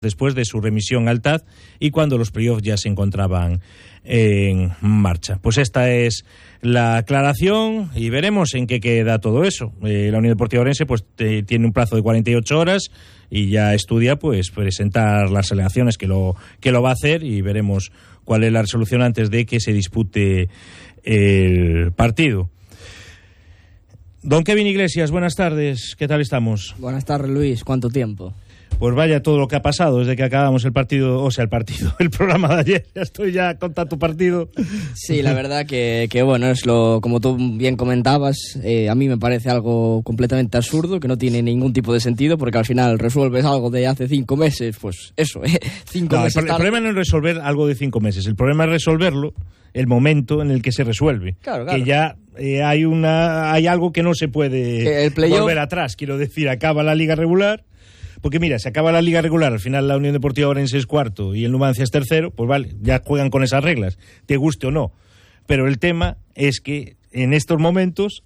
después de su remisión al TAD y cuando los playoffs ya se encontraban en marcha. Pues esta es la aclaración y veremos en qué queda todo eso. La Unión Deportiva Ourense pues tiene un plazo de 48 horas y ya estudia pues presentar las alegaciones que lo va a hacer y veremos cuál es la resolución antes de que se dispute el partido. Don Kevin Iglesias, buenas tardes, ¿qué tal estamos? Buenas tardes, Luis, ¿cuánto tiempo? Pues vaya todo lo que ha pasado desde que acabamos el programa de ayer. Ya estoy ya con tanto partido. Sí, la verdad que bueno, es como tú bien comentabas, a mí me parece algo completamente absurdo, que no tiene ningún tipo de sentido, porque al final resuelves algo de hace 5 meses, pues eso, 5 meses. El problema no es resolver algo de 5 meses, el problema es resolverlo el momento en el que se resuelve. Claro. Que ya hay algo que no se puede volver atrás. Quiero decir, acaba la liga regular. Porque mira, se acaba la liga regular, al final la Unión Deportiva Ourense es cuarto y el Numancia es tercero, pues vale, ya juegan con esas reglas, te guste o no. Pero el tema es que en estos momentos,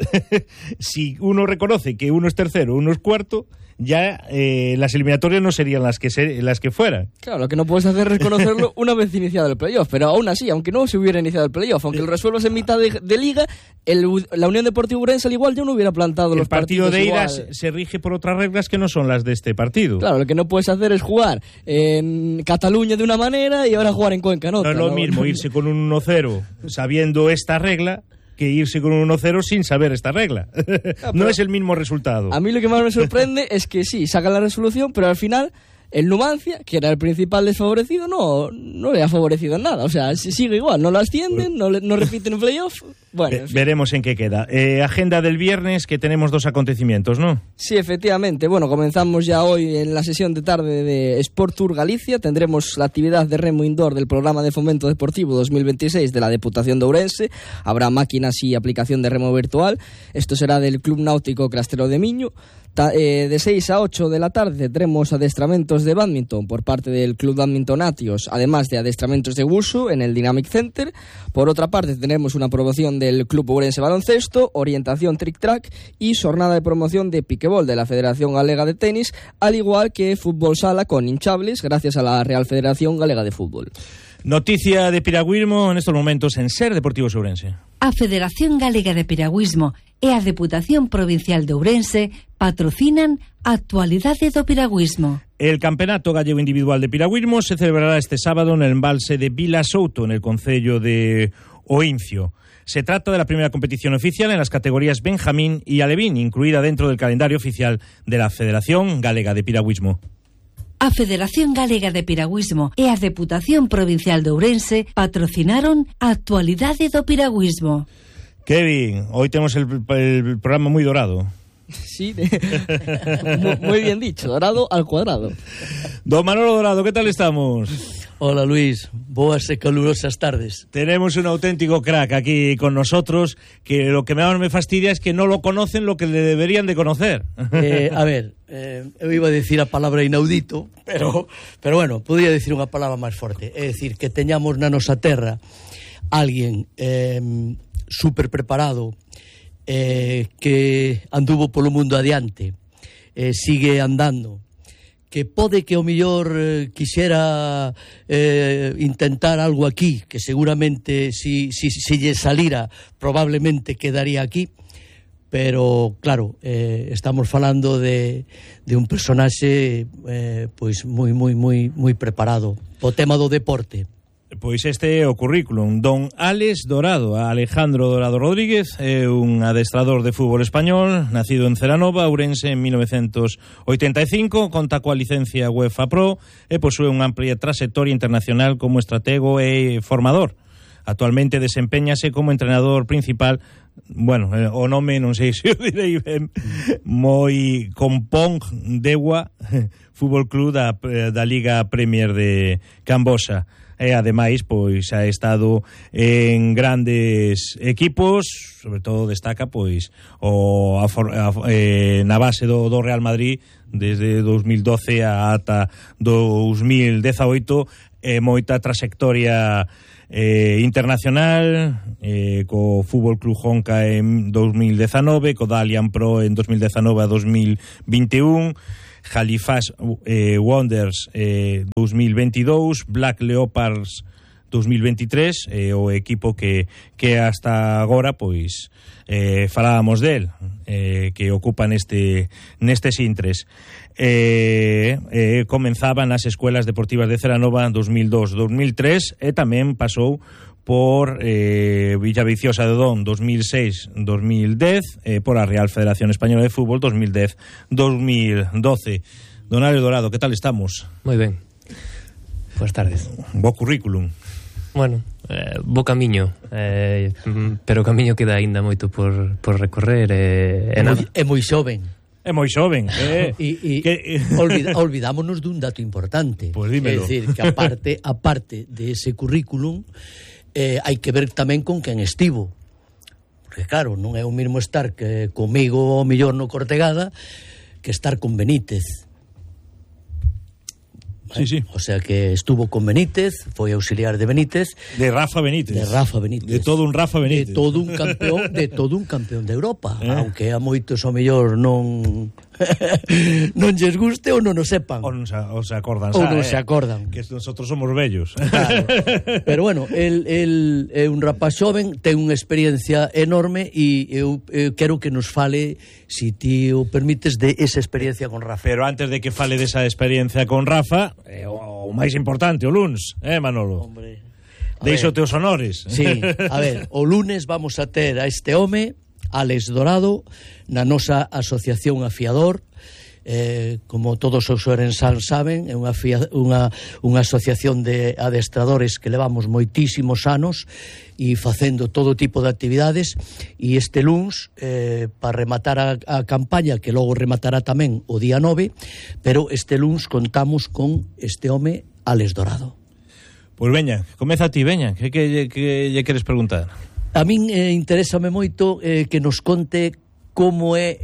si uno reconoce que uno es tercero, uno es cuarto, ya las eliminatorias no serían las que fueran. Claro, lo que no puedes hacer es reconocerlo una vez iniciado el playoff, pero aún así, aunque no se hubiera iniciado el playoff, aunque lo resuelvas en mitad de liga, la Unión Deportiva Ourense al igual ya no hubiera plantado los partidos. El partido de ida se rige por otras reglas que no son las de este partido. Claro, lo que no puedes hacer es jugar en Cataluña de una manera y ahora jugar en Cuenca en otra. No es lo mismo irse con un 1-0 sabiendo esta regla que irse con un 1-0 sin saber esta regla. No es el mismo resultado. A mí lo que más me sorprende es que sí, sacan la resolución, pero al final el Numancia, que era el principal desfavorecido, no le ha favorecido en nada. O sea, sigue igual, no lo ascienden, no repiten un playoff. Bueno, en fin. Veremos en qué queda. Agenda del viernes, que tenemos 2 acontecimientos, ¿no? Sí, efectivamente. Bueno, comenzamos ya hoy en la sesión de tarde de Sport Tour Galicia. Tendremos la actividad de remo indoor del Programa de Fomento Deportivo 2026 de la Deputación de Ourense. Habrá máquinas y aplicación de remo virtual. Esto será del Club Náutico Crastero de Miño. De 6 a 8 de la tarde tendremos adestramentos de bádminton por parte del Club Bádminton Atios, además de adestramentos de wushu en el Dynamic Center. Por otra parte tenemos una promoción del Club Ourense Baloncesto, orientación trick-track y jornada de promoción de piquebol de la Federación Galega de Tenis, al igual que fútbol sala con hinchables gracias a la Real Federación Galega de Fútbol. Noticia de piragüismo en estos momentos en Ser Deportivos Ourense. A Federación Galega de Piragüismo e a Deputación Provincial de Ourense patrocinan a actualidade do piragüismo. El Campeonato Gallego Individual de Piragüismo se celebrará este sábado en el embalse de Vila Souto, en el concello de Oincio. Se trata de la primera competición oficial en las categorías Benjamín y Alevín, incluida dentro del calendario oficial de la Federación Galega de Piragüismo. A Federación Galega de Piragüismo e a Deputación Provincial de Ourense patrocinaron a actualidade do piragüismo. Kevin, hoy tenemos el programa muy dorado. Sí, muy bien dicho, dorado al cuadrado. Don Manolo Dorado, ¿qué tal estamos? Hola Luis, boas e calurosas tardes. Tenemos un auténtico crack aquí con nosotros, que lo que más me fastidia es que no lo conocen lo que le deberían de conocer. A ver, eu iba a decir a palabra inaudito, pero bueno, podría decir unha palabra máis forte. É dicir, que teñamos na nosa terra alguén super preparado, que anduvo polo mundo adiante, sigue andando, que pode que ao millor quixera intentar algo aquí, que seguramente si lle salira probablemente quedaría aquí, pero claro, estamos falando de un personaxe pois moi preparado o tema do deporte. Pois este é o currículum. Don Álex Dorado, Alejandro Dorado Rodríguez, é un adestrador de fútbol español, nacido en Celanova, Ourense, en 1985, conta coa licencia UEFA Pro e posúe unha amplia trayectoria internacional como estratego e formador. Actualmente desempeñase como entrenador principal, bueno, o nome non sei se o direi ben, moi Kompong Dewa Fútbol Club da Liga Premier de Cambosa. E ademais pois ha estado en grandes equipos, sobre todo destaca pois na base do Real Madrid desde 2012 ata 2018, moita trayectoria internacional, co Fútbol Club Honka en 2019, co Dalian Pro en 2019 a 2021. Halifax Wanderers 2022, Black Leopards 2023, o equipo que hasta agora pois falábamos del, que ocupa nestes intres. Comenzaba nas escuelas deportivas de Celanova 2002-2003 e tamén pasou por Villaviciosa de Odón 2006-2010, por a Real Federación Española de Fútbol 2010-2012. Don Ale Dorado, que tal estamos? Moi ben. Buenas tardes. Bo currículum. Bueno, bo camiño, pero o camiño queda aínda moito por recorrer. É moi xoven. É moi xoven. Olvidámonos dun dato importante. Pues dímelo. É dicir, que aparte de ese currículum, hai que ver tamén con quen estivo. Porque claro, non é o mesmo estar que comigo o mellor no Cortegada que estar con Benítez. Sí, sí. O sea que estuvo con Benítez, foi auxiliar de Benítez. De Rafa Benítez. De todo un Rafa Benítez. De todo un campeón de Europa. Aunque a moitos o mellor non lles guste ou non o sepan. Ou non se acordan. Ou non se acordan. Que nosotros somos vellos. Claro. Pero bueno, el é un rapaz xoven, ten unha experiencia enorme e eu quero que nos fale, si ti o permites, de esa experiencia con Rafa. Pero antes de que fale desa experiencia con Rafa, o máis importante, o luns, Manolo? Hombre, deixo teus honores. Sí, a ver, o lunes vamos a ter a este home, Álex Dorado, na nosa asociación Afiador. Como todos os ourensans saben, é unha asociación de adestradores que levamos moitísimos anos e facendo todo tipo de actividades, e este luns, para rematar a campaña, que logo rematará tamén o día 9, pero este luns contamos con este home, Álex Dorado. Pois veña, comeza ti, veña, que lle queres preguntar? A min interésame moito que nos conte como é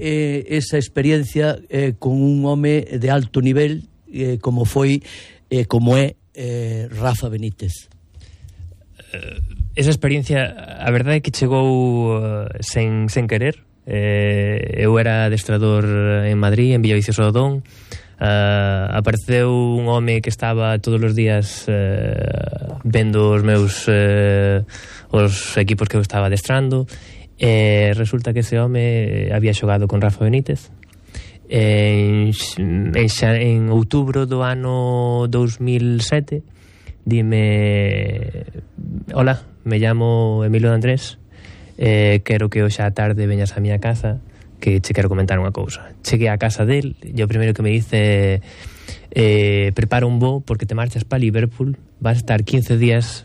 esa experiencia con un home de alto nivel como foi, como é Rafa Benítez. Esa experiencia, a verdade é que chegou sen querer. Eu era adestrador en Madrid, en Villaviciosa de Odón. Apareceu un home que estaba todos os días vendo os meus os equipos que eu estaba adestrando. Resulta que ese home había xogado con Rafa Benítez en outubro do ano 2007. Dime: hola, me llamo Emilio de Andrés, quero que hoxe á tarde veñas á miña casa, que che quero comentar unha cousa. Cheguei á casa del e o primeiro que me dice: prepara un voo porque te marchas para Liverpool, vas a estar 15 días,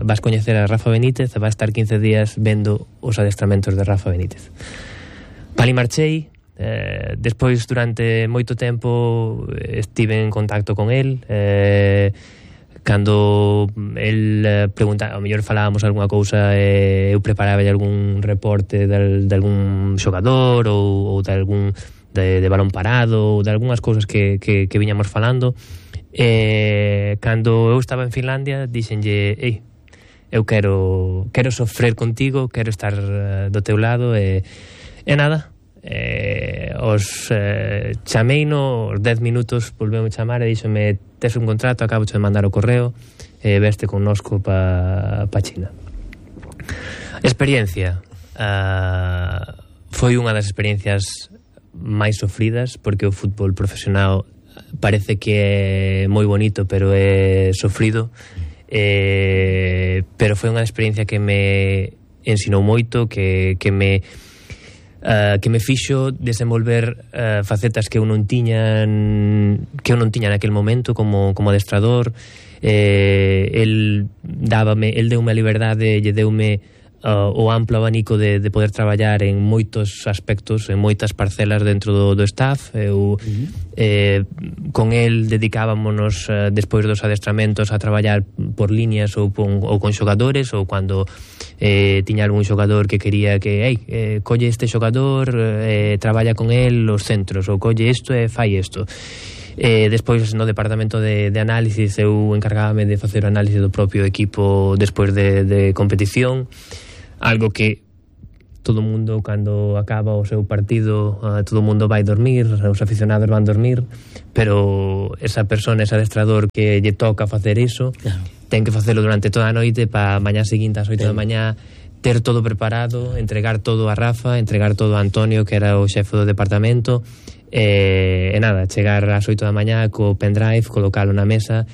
vas coñecer a Rafa Benítez e vas a estar 15 días vendo os adestramentos de Rafa Benítez. Pali marchei. Despois, durante moito tempo, estive en contacto con el. Cando el preguntaba, ao mellor falábamos algunha cousa, eu preparaba algún reporte de algún xogador ou de algún de balón parado, ou de algunhas cousas que viñamos falando. Cando eu estaba en Finlandia, dixenlle: ei, eu quero sofrer contigo, quero estar do teu lado, e nada. Chameino, os 10 minutos volveu a chamar e díxome: tes un contrato, acabo de mandar o correo, veste connosco pa China. Experiencia, foi unha das experiencias máis sofridas, porque o fútbol profesional parece que é moi bonito, pero é sofrido. Pero foi unha experiencia que me ensinou moito, que me fixo desenvolver facetas que eu non tiña naquel momento como adestrador. El deume a liberdade, lle deume o amplo abanico de poder traballar en moitos aspectos, en moitas parcelas dentro do staff. Eu con el dedicábamonos despois dos adestramentos a traballar por líneas ou con xogadores, ou cando tiña algún xogador que quería que colle este xogador, traballa con el os centros, ou colle isto e fai isto. Despois, no departamento de análisis, eu encargábame de facer o análise do propio equipo despois de competición, algo que todo o mundo, cando acaba o seu partido, todo o mundo vai dormir, os aficionados van dormir, pero esa persona, ese adestrador que lle toca facer iso, ten que facelo durante toda a noite para mañá seguinte ás 8 da mañá ter todo preparado, entregar todo a Rafa, entregar todo a Antonio, que era o xefe do departamento, e nada, chegar ás 8 da mañá co pendrive, colocalo na mesa,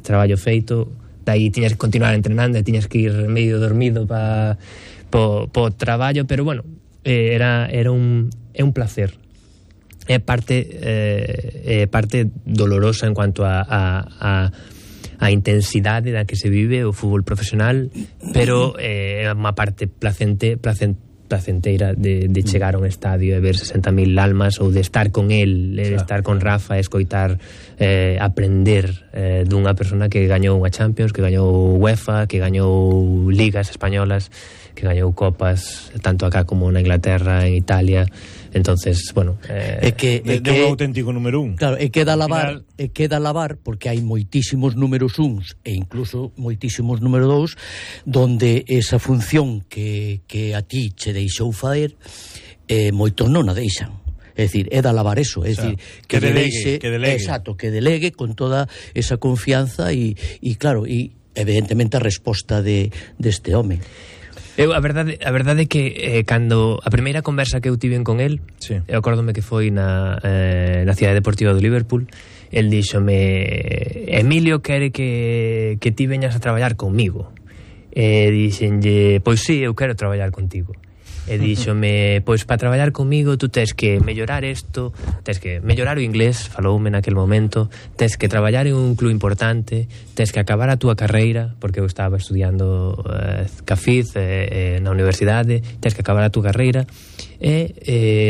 traballo feito, dai tiñas que continuar entrenando e tiñas que ir medio dormido po traballo, pero bueno, é un placer. É parte dolorosa en cuanto a intensidade da que se vive o fútbol profesional, pero é unha parte placenteira de chegar a un estadio e ver 60.000 almas, ou de estar con el, de estar con Rafa, escoitar, aprender dunha persona que gañou unha Champions, que gañou UEFA, que gañou ligas españolas, que gañou copas tanto acá como na Inglaterra, en Italia. Entonces, bueno, é un auténtico número 1. Claro, queda lavar porque hai moitísimos números 1 e incluso moitísimos número 2 donde esa función que a ti che deixou faer, moitos non a deixan. É dicir, é de alabar eso, é dicir, que delegue. Exacto, que delegue con toda esa confianza e claro, e evidentemente a resposta deste home. A verdade é que cando a primeira conversa que eu tiven con el, eu acórdome que foi na Cidade Deportiva do Liverpool, el díxome: Emilio quere que ti veñas a traballar comigo. E dixenlle: pois sí, eu quero traballar contigo. E díxome: pois para traballar comigo tú tens que mellorar isto, tens que mellorar o inglés, faloume naquel momento, tens que traballar en un club importante, tens que acabar a túa carreira, porque eu estaba estudiando CAFID na universidade, tens que acabar a túa carreira, e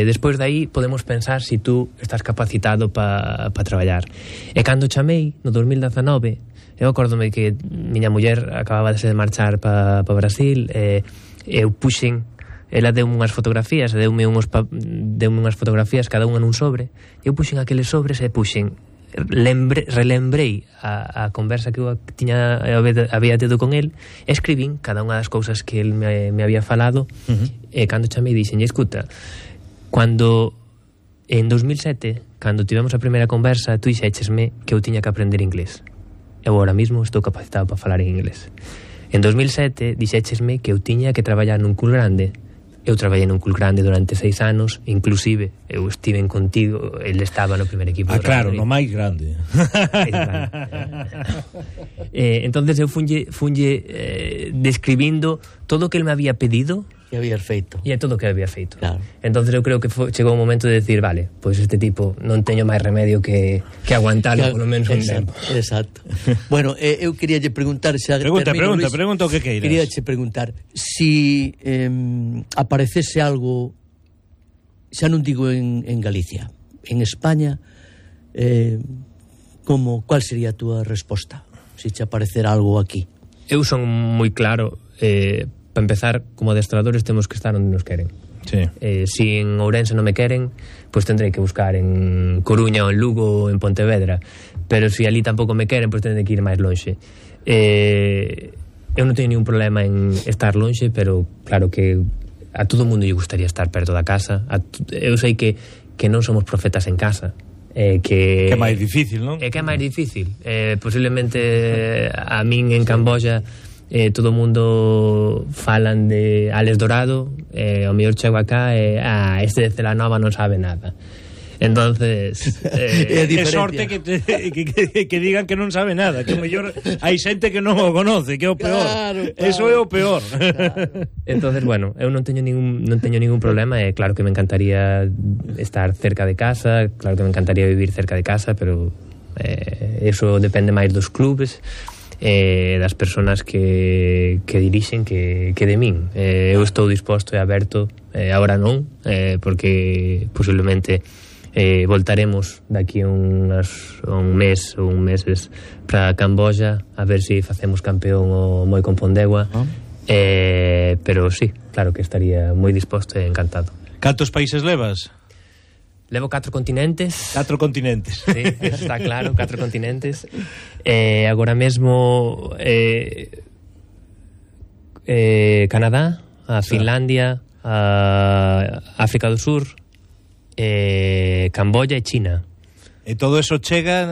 despois de aí podemos pensar se tú estás capacitado para traballar. E cando chamei no 2019, eu acórdome que miña muller acababa de marchar para Brasil, eu puxen, ela deu unhas fotografías, deume unhas fotografías cada unha nun sobre, eu puxen aqueles sobres e puxen, relembrei a conversa que eu había tido con el, escribín cada unha das cousas que el me había falado, e cando chamei dixen: escuta, cando en 2007, cando tivemos a primeira conversa, tú dixéchesme que eu tiña que aprender inglés. Eu ahora mismo estou capacitado para falar en inglés. En 2007 dixéchesme que eu tiña que traballar nun club grande. Eu traballei nun club grande durante 6 anos, inclusive eu estiven contigo, ele estaba no primer equipo. Claro, no máis grande. Entonces eu funlle describindo todo o que ele me había pedido que habías feito. E é todo o que había feito. Claro. Entonces eu creo que chegou un momento de decir, vale, pois este tipo non teño máis remedio que aguantalo polo menos un tempo. Exacto. Bueno, eu queríalle preguntar xa Pregunta o que queiras. Queríalle preguntar si aparecese algo, xa non digo en Galicia, en España, cuál sería a túa resposta? Si te aparecera algo aquí. Eu son moi claro, para empezar, como adestradores temos que estar onde nos queren. Sí. Si en Ourense non me queren, pues tendrei que buscar en Coruña ou en Lugo ou en Pontevedra, pero si ali tampouco me queren, pues tendrei que ir máis lonxe. Eu non teño ningún problema en estar lonxe, pero claro que a todo mundo lle gustaría estar perto da casa. Eu sei que non somos profetas en casa, que é máis difícil, non? Que é máis difícil. Posiblemente a min en Camboya todo o mundo falan de Alex Dorado, o mellor chego acá este de Celanova non sabe nada. Entonces é sorte que digan que non sabe nada, que o mellor hai xente que non o conoce, que é o peor. Claro. Eso é o peor. Claro. Entonces, bueno, eu non teño ningún problema, claro que me encantaría estar cerca de casa, claro que me encantaría vivir cerca de casa, pero eso depende máis dos clubes, das persoas que dirixen que de min. Eu estou disposto e aberto, agora non, porque posiblemente voltaremos daqui un mes ou un meses para Camboya a ver se facemos campeón o moi con Pondegua, pero sí, claro que estaría moi disposto e encantado. Cantos países levas? Levo 4 continentes. 4 continentes. Sí, está claro, 4 continentes. Agora mesmo Canadá, a Finlandia, África do Sur, Camboya e China. E todo eso chega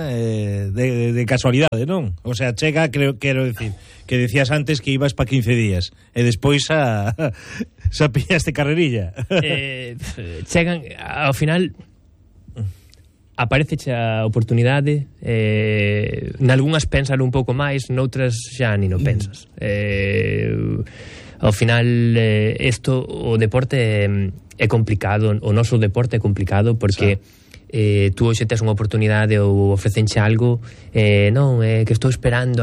de casualidade, non? O sea, chega, quero decir, que decías antes que ibas pa 15 días e despois xa pillaste carrerilla. Chegan, ao final aparece a oportunidade, nalgúnas pensar un pouco máis, noutras xa ni non pensas. Ao final o deporte é complicado, o noso deporte é complicado porque tú hoxe tes unha oportunidade ou ofrecenche algo, non, que estou esperando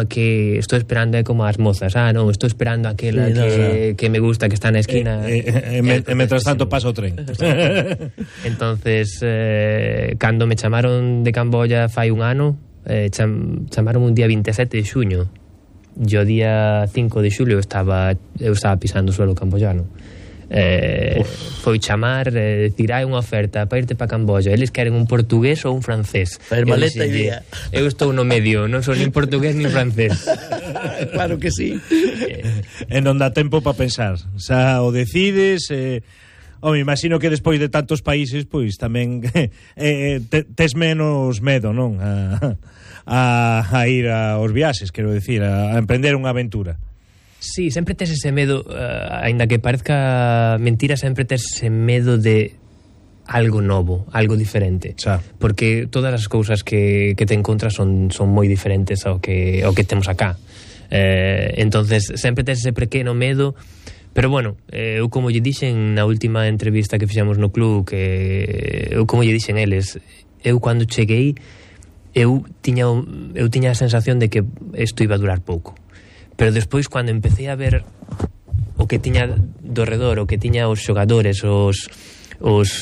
como as mozas, non, estou esperando aquela que me gusta, que está na esquina, mentras tanto pasa o tren. Entonces cando me chamaron de Camboya fai un ano, chamaron un día 27 de xuño, yo día 5 de xulio eu estaba pisando o suelo camboyano. Foi chamar, decir, hai unha oferta para irte para Camboya, eles queren un portugués ou un francés. Maleta idea. Eu estou no medio, non son nin portugués nin francés. Claro que sí. E non dá tempo para pensar, xa o decides. Me imagino que despois de tantos países, pois tamén tes menos medo, non? A ir aos viaxes, quero decir, a emprender unha aventura. Sí, sempre tes ese medo, aínda que parezca mentira, sempre tes ese medo de algo novo, algo diferente. Xa. Porque todas as cousas que te encontras son moi diferentes ao que temos acá. Entonces, sempre tes ese pequeno medo, pero bueno, eu como lle dixen na última entrevista que fixemos no club, eu como lle dixen eles, eu cando cheguei, eu tiña a sensación de que isto iba a durar pouco. Pero despois, cando empecé a ver o que tiña do redor, o que tiña os xogadores, os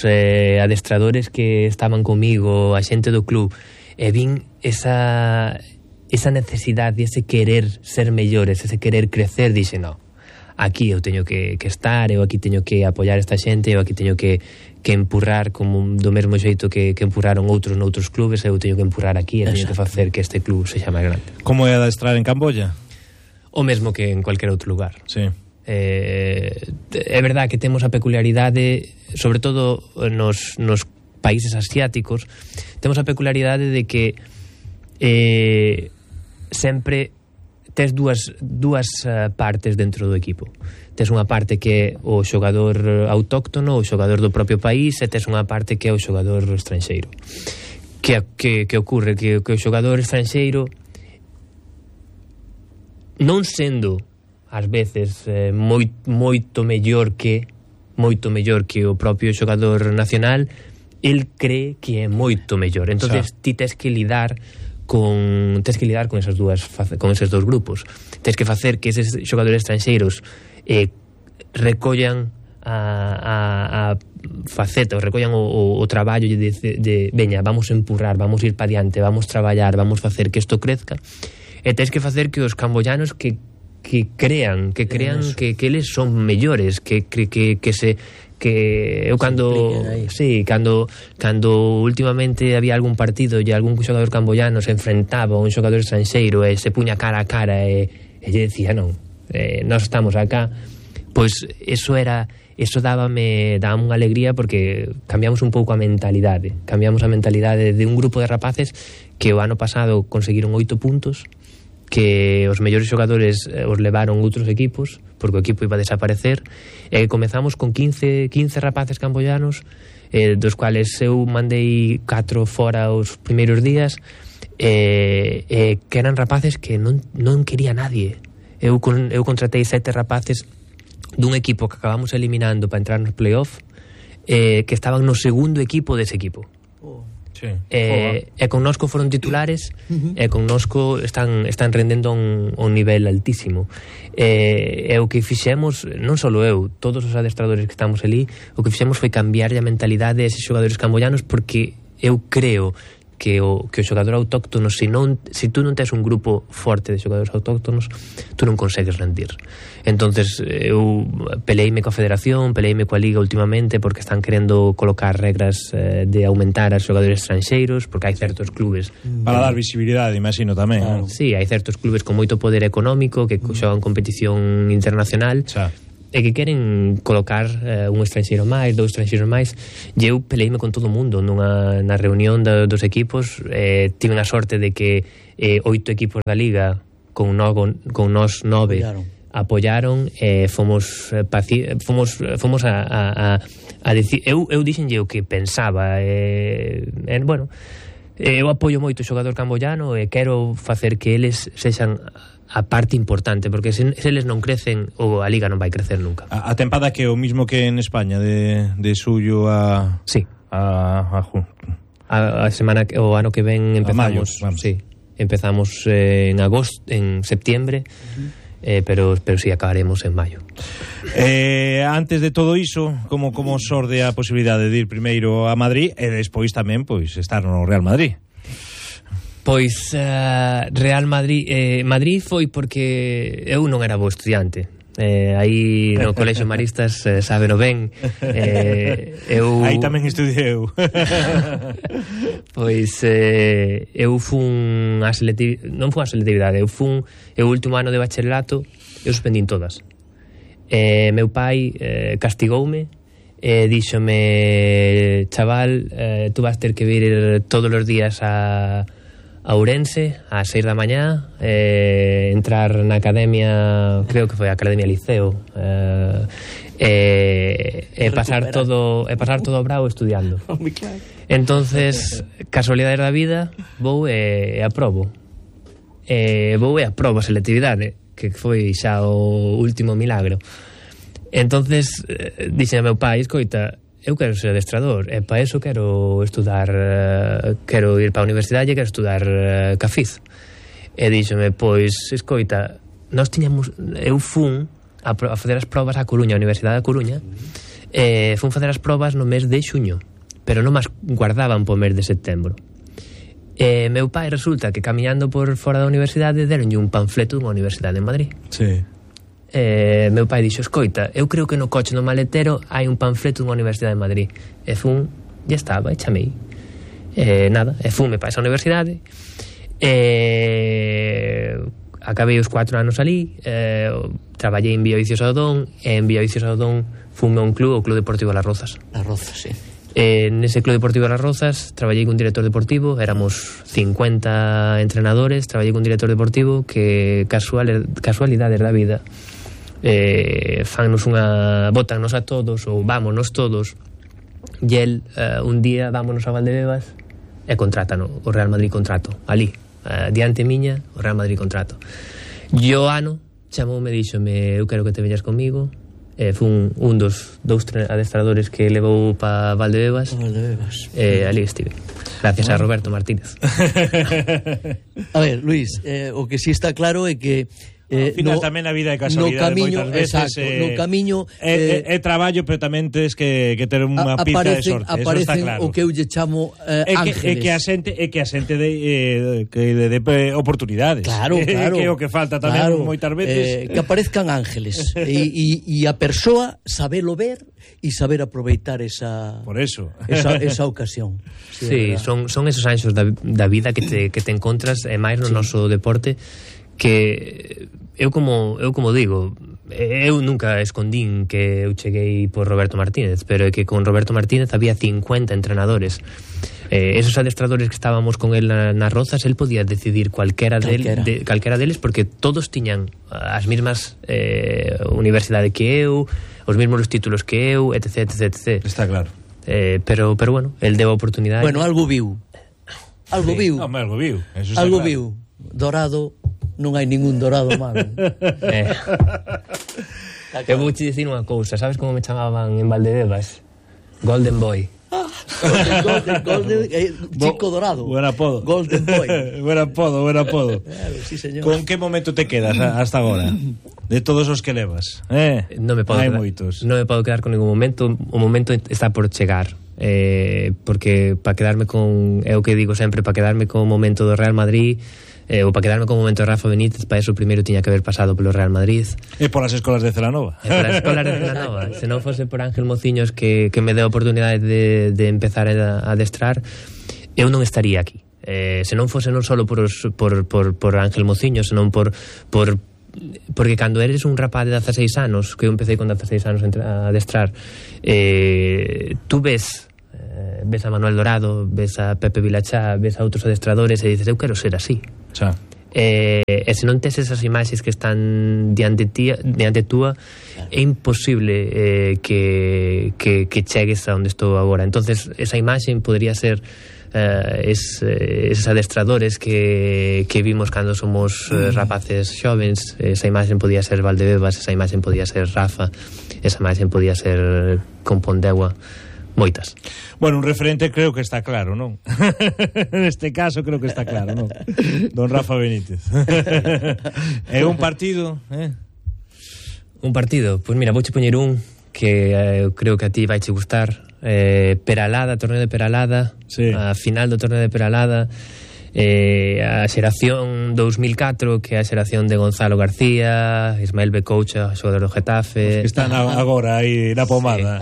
adestradores que estaban comigo, a xente do club, e vin esa necesidade, ese querer ser mellores, ese querer crecer, dixe, no, aquí eu teño que estar, eu aquí teño que apoiar esta xente, eu aquí teño que empurrar como do mesmo xeito que empurraron outros noutros clubes, eu teño que empurrar aquí, e teño que facer que este club sexa máis grande. Como é adestrar en Camboya? O mesmo que en cualquier outro lugar. Sí. É verdad que temos a peculiaridade, sobre todo nos países asiáticos, temos a peculiaridade de que sempre tes dúas partes dentro do equipo. Tes unha parte que é o xogador autóctono, o xogador do propio país, e tes unha parte que é o xogador estranxeiro. Que ocorre? Que o xogador estranxeiro, non sendo ás veces moito mellor que o propio xogador nacional, el cree que é moito mellor. Entonces ti tes que lidar con esos dous grupos. Tes que facer que eses xogadores estranxeiros recollan a faceta, recollan o traballo de veña, vamos a empurrar, vamos a ir para diante, vamos a traballar, vamos a facer que isto crezca. E tens que facer que os camboyanos que crean que eles son mellores, que eu cando últimamente había algún partido e algún xogador camboyano se enfrentaba a un xogador estranxeiro e se puña cara a cara e lle decía, non, nós estamos acá, pois eso dábame unha alegría, porque cambiamos un pouco a mentalidade de un grupo de rapaces que o ano pasado conseguiron 8 puntos, que os mellores xogadores os levaron outros equipos porque o equipo iba a desaparecer, e comezamos con 15 rapaces camboyanos, dos cuales eu mandei 4 fora os primeiros días, que eran rapaces que non quería nadie. Eu contratei 7 rapaces dun equipo que acabamos eliminando para entrar nos playoff, que estaban no segundo equipo dese equipo. Sí. E connosco foron titulares, e connosco están rendendo un nivel altísimo. E o que fixemos, non só eu, todos os adestradores que estamos ali, o que fixemos foi cambiar a mentalidade a eses xogadores camboyanos, porque eu creo que o xogador autóctono, se tú non tes un grupo forte de xogadores autóctonos, tú non consegues rendir. Entonces eu peleime coa federación, peleime coa liga últimamente, porque están querendo colocar regras de aumentar as xogadores estranxeiros, porque hai certos clubes para dar visibilidade, imagino tamén, Sí, hai certos clubes con moito poder económico que xogan competición internacional. que queren colocar un estranxeiro máis, 2 estranxeiros máis, e eu peleime con todo o mundo na reunión dos equipos. Tive a sorte de que 8 equipos da Liga con nós 9 apoyaron, fomos a decir, eu dixenlle o que pensaba, bueno, eu apoio moito o xogador camboyano e quero facer que eles sexan a parte importante, porque se eles non crecen, a Liga non vai crecer nunca. A tempada que é o mismo que en España, de xullo a... Sí. A semana, o ano que ven empezamos, mayo, sí, empezamos en agosto, en septiembre, pero sí, acabaremos en maio. Antes de todo iso, como xorde a posibilidade de ir primeiro a Madrid e despois tamén pois estar no Real Madrid? Pois Real Madrid Madrid foi porque eu non era bo estudiante. Aí no Colexio Maristas sábeno ben. Aí tamén estudiei eu. Pois eu fun a selectividade, non fun a selectividade, eu fun o último ano de bacharelato, eu suspendín todas. Meu pai castigoume, díxome, chaval, tú vas ter que vir todos os días a Ourense a 6 da mañá, entrar na academia, creo que foi a Academia Liceo, pasar todo bravo estudiando. Entonces, casualidades da vida, vou e aprobo a selectividade, que foi xa o último milagro. Entonces dixen a meu pai, escoita, eu quero ser adestrador, e para eso quero estudar, quero ir para a universidade e quero estudar Cafiz. E díxome, pois, escoita, eu fun a fazer as probas a Coruña, a Universidade da Coruña, fun facer as probas no mes de xuño, pero non as guardaban po mes de setembro. Meu pai resulta que camiñando por fora da universidade deronlle un panfleto dunha universidade en Madrid. Sí. Meu pai dixo, escoita, eu creo que no coche no maletero hai un panfleto dunha universidade de Madrid. E fun, ya estaba, e chamei. Nada, e fume para esa universidade. Acabei os 4 anos ali, traballei en Villavicios Odón, e en Villavicios Odón fume a un club, o Club Deportivo Las Rozas. Las Rozas, sí. Nese Club Deportivo Las Rozas traballei con director deportivo, éramos 50 entrenadores, traballei con director deportivo que casualidades da vida fannos botannos a todos, ou vámonos todos, e el un día vámonos a Valdebebas e contratano, o Real Madrid contrato ali, diante miña, o Real Madrid contrato. E o ano chamoume e díxome, eu quero que te veñas comigo. Fun un dos 2 adestradores que levou para Valdebebas. Ali estive, gracias a Roberto Martínez. A ver, Luis, o que si está claro é que ao final tamén a vida é casualidade moitas veces, no camiño é traballo, pero tamén tens que ter unha pizca de sorte, eso está claro. O que eu lle chamo ángeles. É que a xente de oportunidades. Claro. Que é o que falta tamén moitas veces. Que aparezcan ángeles e a persoa sabelo ver e saber aproveitar esa ocasión. Sí, son esos anxos da vida que te encontras, e máis no noso deporte, que eu como digo, eu nunca escondín que eu cheguei por Roberto Martínez, pero é que con Roberto Martínez había 50 entrenadores. Esos adestradores que estábamos con él nas Rozas, él podía decidir calquera deles, porque todos tiñan as mesmas universidades que eu, os mesmos títulos que eu, etc. Está claro. Pero bueno, él deu a oportunidade. Bueno, algo viu. Algo viu. Algo viu. Dorado, non hai ningún dorado malo. Eu vou te dicir unha cousa, sabes como me chamaban en Valdebebas? Golden Boy. Golden, chico dorado. Buen apodo. Golden Boy. Buen apodo. Sí, señor. Con que momento te quedas hasta agora? De todos os que levas? Non me podo quedar con ningún momento. O momento está por chegar. Porque para quedarme con, é o que digo sempre, para quedarme con o momento do Real Madrid, ou para quedarme con o momento de Rafa Benítez, para eso primeiro tiña que haber pasado polo Real Madrid e polas escolas de Celanova. Se non fose por Ángel Mociños que me deu a oportunidade de empezar a adestrar, eu non estaría aquí. Se non fose non só por Ángel Mociños, senón por porque cando eres un rapaz de 16 anos, que eu empecé con 16 anos a adestrar, tú ves a Manuel Dorado, ves a Pepe Vilachá, ves a outros adestradores e dices, eu quero ser así. Xa. E se non tes esas imaxes que están diante túa, é imposible que chegues a onde estou agora. Entonces esa imaxe podría ser esos adestradores que vimos cando somos rapaces xovens. Esa imaxe podía ser Valdebebas, esa imaxe podía ser Rafa, esa imaxe podía ser Compondegua, moitas. Bueno, un referente creo que está claro, non? Neste caso creo que está claro, non? Don Rafa Benítez. É un partido, Un partido, pois mira, vouche poñer un que creo que a ti vaiche gustar. Peralada, torneo de Peralada, sí. A final do torneo de Peralada, a xeración 2004, que é a xeración de Gonzalo García, Ismael Becoucha, xogador do Getafe, que están agora aí na pomada.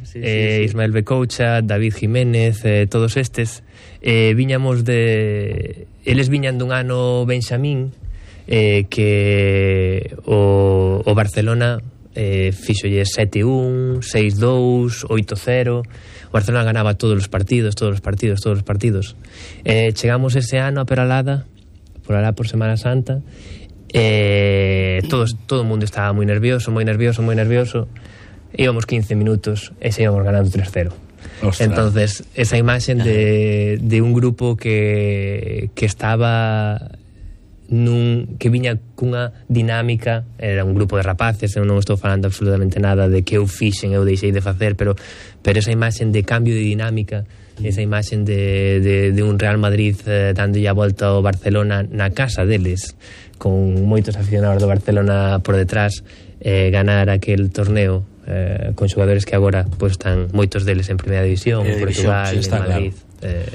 Sí. Ismael Becoucha, David Jiménez, todos estes viñamos de... Eles viñan dun ano Benxamín, que o Barcelona fixolle 7-1, 6-2, 8-0. O Barcelona ganaba todos os partidos. Chegamos ese ano a Peralada, por alá por Semana Santa, todo o mundo estaba moi nervioso. Íbamos 15 minutos e íbamos ganando 3-0. Ostras. Entonces esa imaxe de un grupo que estaba que viña cunha dinámica, era un grupo de rapaces, eu non estou falando absolutamente nada de que eu fixen, eu deixei de facer, pero esa imaxe de cambio de dinámica, esa imaxe de un Real Madrid dándolle a volta ao Barcelona na casa deles, con moitos aficionados do Barcelona por detrás, ganar aquel torneo con xogadores que agora pues, están moitos deles en Primeira División, en Portugal, sí, en Madrid, claro.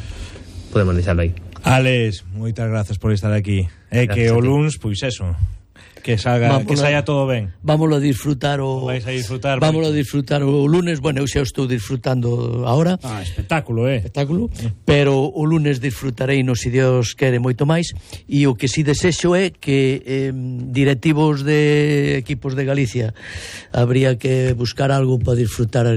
Podemos deixarlo aí. Alex, moitas grazas por estar aquí. Que o luns, pois eso, que saia todo ben. Vámoslo a disfrutar Vámoslo a disfrutar o lunes. Bueno, eu xa estou disfrutando ahora. Espectáculo, espectáculo, pero o lunes disfrutarei, no si Dios quere, moito máis. E o que si desexo é que directivos de equipos de Galicia habría que buscar algo para disfrutar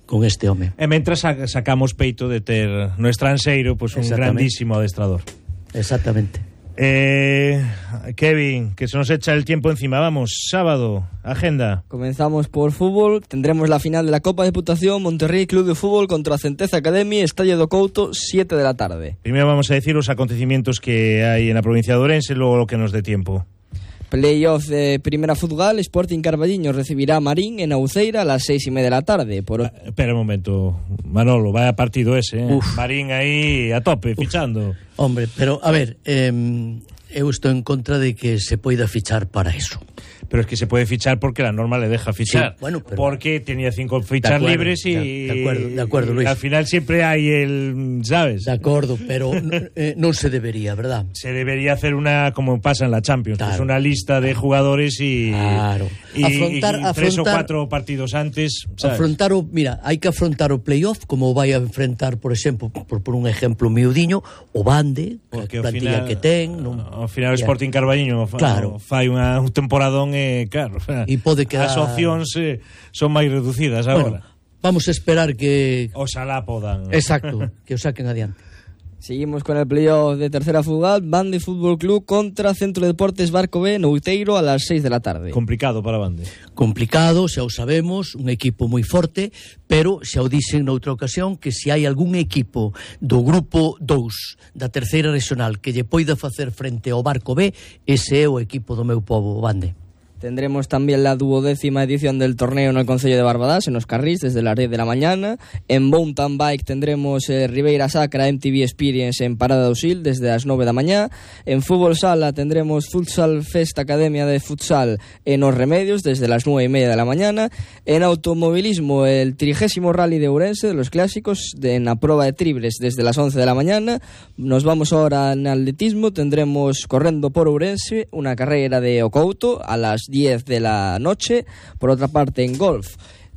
con este home. E mentras sacamos peito de ter no estranxeiro pues, un grandísimo adestrador. Exactamente. Kevin, que se nos echa el tiempo encima. Vamos, sábado, agenda. Comenzamos por fútbol. Tendremos la final de la Copa Deputación, Monterrey Club de Fútbol contra Centeza Academy, Estadio do Couto, 7 de la tarde. Primero vamos a decir los acontecimientos que hay en la provincia de Ourense, luego lo que nos dé tiempo. Playoff de Primera Fútbol, Sporting Carballiño recibirá a Marín en Auceira a las 6:30 de la tarde. Espera un momento, Manolo, vaya partido ese, Marín aí a tope, fichando. Hombre, pero a ver, eu estou en contra de que se poida fichar para eso. Pero es que se puede fichar porque la norma le deja fichar. Sí, bueno, pero porque tenía 5 fichas libres y... De acuerdo, Luis. Al final siempre hay el... ¿Sabes? De acuerdo, pero no se debería, ¿verdad? Se debería hacer una, como pasa en la Champions, claro. Pues una lista de jugadores y... Claro. Y 3 o 4 partidos antes, ¿sabes? Mira, hai que afrontar o playoff como vai a enfrentar, por exemplo, por un ejemplo miudiño, o Bande, a plantilla que ten. Ao final o Sporting Carballiño claro. fai un temporadón claro, e pode quedar... As opcións son máis reducidas agora. Bueno, vamos a esperar que... Oxalá podan. Exacto, que o saquen adiante. Seguimos con el playoff de Tercera Fútbol, Bande Fútbol Club contra Centro de Deportes Barco B, Nouteiro, a las 6 de la tarde. Complicado para Bande. Complicado, xa o sabemos, un equipo moi forte, pero xa o dixen noutra ocasión que se hai algún equipo do grupo 2 da Terceira Regional que lle poida facer frente ao Barco B, ese é o equipo do meu pobo, Bande. Tendremos también la 12ª edición del torneo en el Concello de Barbadás, en los Carrís, desde las 10 de la mañana. En Mountain Bike tendremos Ribeira Sacra MTV Experience en Parada do Sil, desde las 9 de la mañana. En Fútbol Sala tendremos Futsal Fest Academia de Futsal en Os Remedios, desde las 9:30 de la mañana. En automovilismo, el 30º Rally de Ourense, de los clásicos, en la prueba de triples, desde las 11 de la mañana. Nos vamos ahora en atletismo, tendremos Correndo por Ourense, una carrera de Ocouto, a las 10 de la noche. Por otra parte, en golf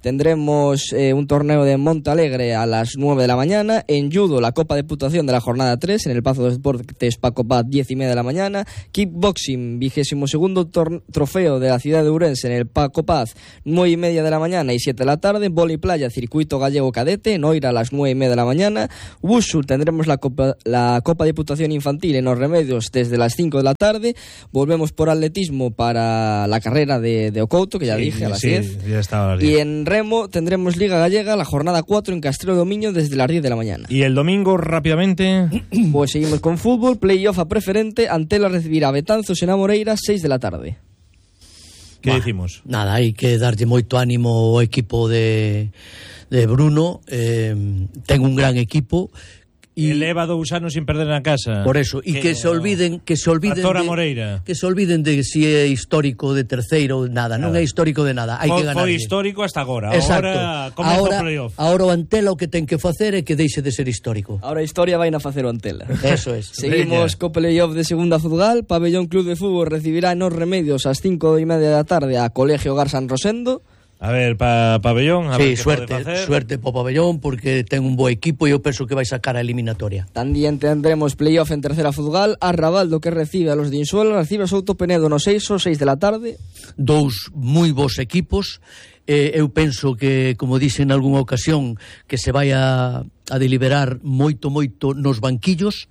tendremos un torneo de Montalegre a las 9 de la mañana. En judo, la Copa Diputación de la jornada 3 en el Pazo de Deportes Paco Paz, 10:30 de la mañana. Kickboxing, 22º trofeo de la ciudad de Ourense en el Paco Paz, 9:30 de la mañana y 7 de la tarde. Vóley playa, circuito gallego cadete, en Oira a las 9:30 de la mañana. Wushu, tendremos la Copa Diputación Infantil en Los Remedios desde las 5 de la tarde. Volvemos por atletismo para la carrera de Ocouto, que ya dije, a las 10. Ya estaba a las 10. Y en remo tendremos Liga Gallega, la jornada 4 en Castrelo do Miño desde las 10 de la mañana. Y el domingo, rápidamente... Pues seguimos con fútbol, playoff a preferente, Antela recibirá a Betanzos en Amoreira, 6 de la tarde. ¿Qué decimos? Nada, hai que darlle moito ánimo ao equipo de Bruno. Ten un gran equipo. Y eleva 2 anos sin perder na casa. Por eso, e que se olviden Azora Moreira. Que se olviden de si é histórico de terceiro, nada, non é histórico de nada, hai que ganar. Foi histórico hasta agora. Exacto. Agora comeza o playoff. Agora o Antela o que ten que facer é que deixe de ser histórico. Ahora a historia vai na facer o Antela. Eso es. Seguimos co playoff de segunda Futgal. Pabellón Club de Fútbol recibirá en Os Remedios ás 5:30 da tarde a Colegio Gar San Rosendo. A ver, Pabellón, a ver sí, que suerte po Pabellón, porque ten un bo equipo e eu penso que vai sacar a eliminatoria. Tamén tendremos playoff en tercera Futgal. Arrabaldo, que recibe a los de Insuelo, recibe a Souto Penedo no 6 de la tarde. 2 moi bons equipos. Eu penso que, como dixe en algunha ocasión, que se vai a deliberar moito nos banquillos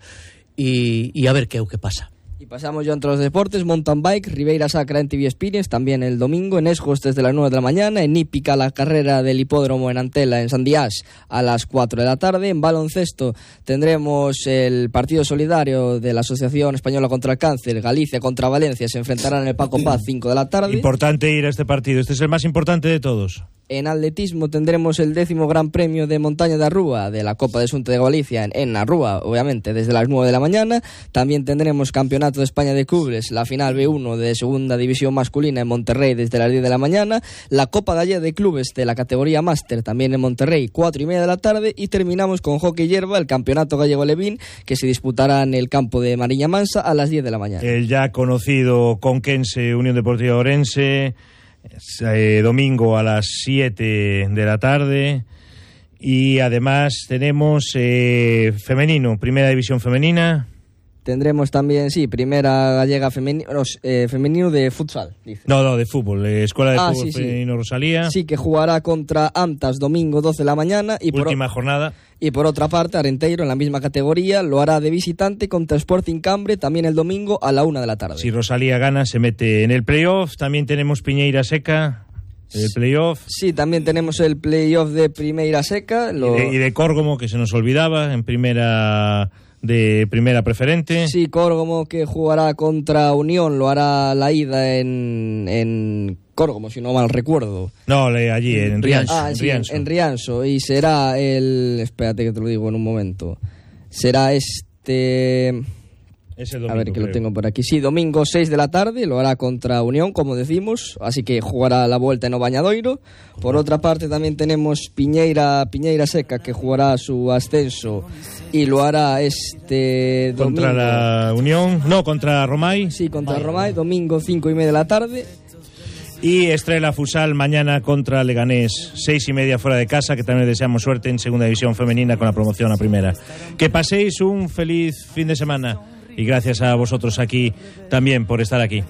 e a ver que é o que pasa. Y pasamos ya entre los deportes. Mountain bike, Ribeira Sacra en TV Experience, también el domingo. En Esgos desde las 9 de la mañana. En Hípica, la carrera del hipódromo en Antela, en San Díaz, a las 4 de la tarde. En baloncesto tendremos el partido solidario de la Asociación Española contra el Cáncer. Galicia contra Valencia se enfrentarán en el Paco Paz, 5 de la tarde. Importante ir a este partido. Este es el más importante de todos. En atletismo tendremos el 10º Gran Premio de Montaña de Arrúa de la Copa de Xunta de Galicia en Arrúa, obviamente, desde las 9 de la mañana. También tendremos Campeonato de España de Clubes, la final B1 de Segunda División Masculina en Monterrey desde las 10 de la mañana. La Copa Gallega de Clubes de la categoría Máster también en Monterrey, 4:30 de la tarde. Y terminamos con hockey hierba, el Campeonato Gallego Levín, que se disputará en el campo de Mariña Mansa a las 10 de la mañana. El ya conocido Conquense Unión Deportiva Ourense, domingo a las 7 de la tarde. Y además tenemos femenino, primera división femenina. Tendremos también, sí, primera gallega femenino de futsal, dice. No, de fútbol, Escuela de Fútbol sí, Femenino sí. Rosalía. Sí, que jugará contra Amtas domingo 12 de la mañana. Y última jornada. Y por otra parte, Arenteiro, en la misma categoría, lo hará de visitante contra Sporting Cambre, también el domingo a la 1 de la tarde. Si Rosalía gana, se mete en el playoff. También tenemos Piñeira Seca, el playoff. Sí, también tenemos el playoff de Primeira Seca. Y de Córgomo, que se nos olvidaba, en primera preferente. Sí, Córgomo, que jugará contra Unión, lo hará la ida en Córgomo, si no mal recuerdo. No, allí, en Rianxo. En Rianxo. Y será espérate que te lo digo en un momento. Será ese domingo, a ver, que lo tengo por aquí. Sí, domingo 6 de la tarde, lo hará contra Unión, como decimos, así que jugará la vuelta en o Bañadoiro. Por otra parte también tenemos Piñeira Seca, que jugará su ascenso y lo hará domingo. Contra la Unión, no, contra Romay. Sí, contra Romay, domingo 5:30 de la tarde. Y Estrela Futsal mañana contra Leganés, 6:30 fuera de casa, que también les deseamos suerte en segunda división femenina con la promoción a primera. Que paséis un feliz fin de semana y gracias a vosotros aquí también por estar aquí.